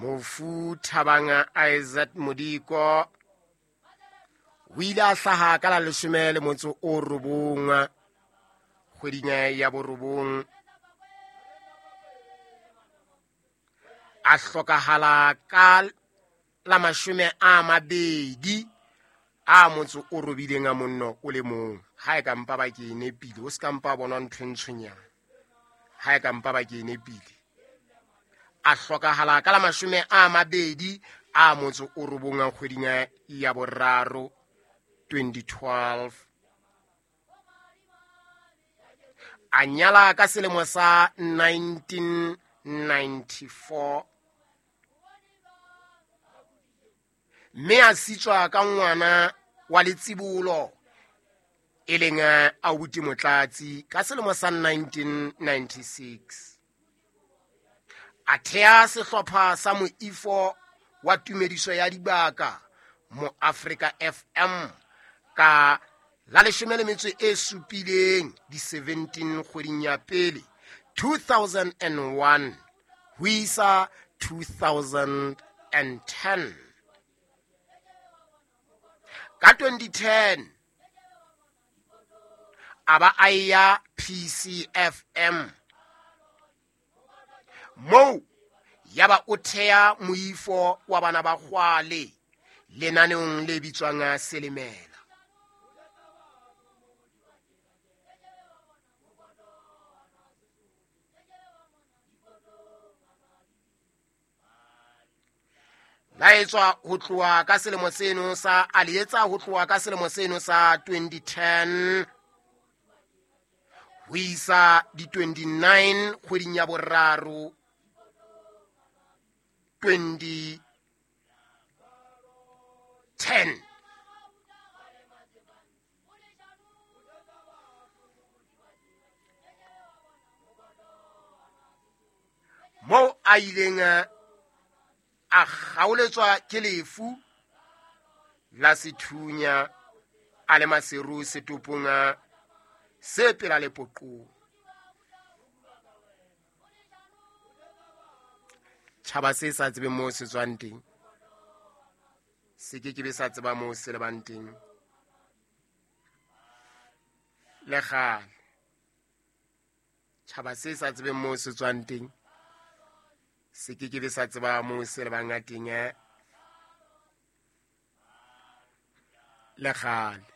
Mofu Thabang Isaac Modiko o ile a hlaha ka la 19 kgweding ya borobong, a hlokahala ka la 28 a motso o robileng a monno o le mong. Ha e ka mpa ba ke e nepile, o se ka mpa bona ntho e ntshonyana. Ha e ka mpa ba ke e nepile, a hlokahala ka la 29 a motso o robong a kgweding ya boraro 2012. A nyala ka selemo sa 1994 mme a sitswa ka ngwana wa letsibolo e leng Aubuti Motlatsi ka selemo sa 1996. A thea sehlopha sa moifo wa tumediso ya dibaka mo Africa FM ka la 17 di 17 kgweding ya pele 2001 ho isa 2010. Ka 2010 a ba a ya PCFM moo ya ba o thea moifo wa bana ba kgwale lenaneong le bitswang Selemela. La etswa ho tloha ka selemo seno sa a le etsa ho tloha ka selemo seno sa 2010 ho isa di 29 kgweding ya boraro 2010. Moo a ileng a kgaoletswa ke lefu la sethunya a le maseru setopong se pela lepoqong. Tjhaba se sa tsebeng moo se tswang teng se ke ke be sa tseba moo se lebang teng le kgale. Tjhaba se sa tsebeng moo se tswang teng se ke ke be sa tseba moo se lebang teng le kgale.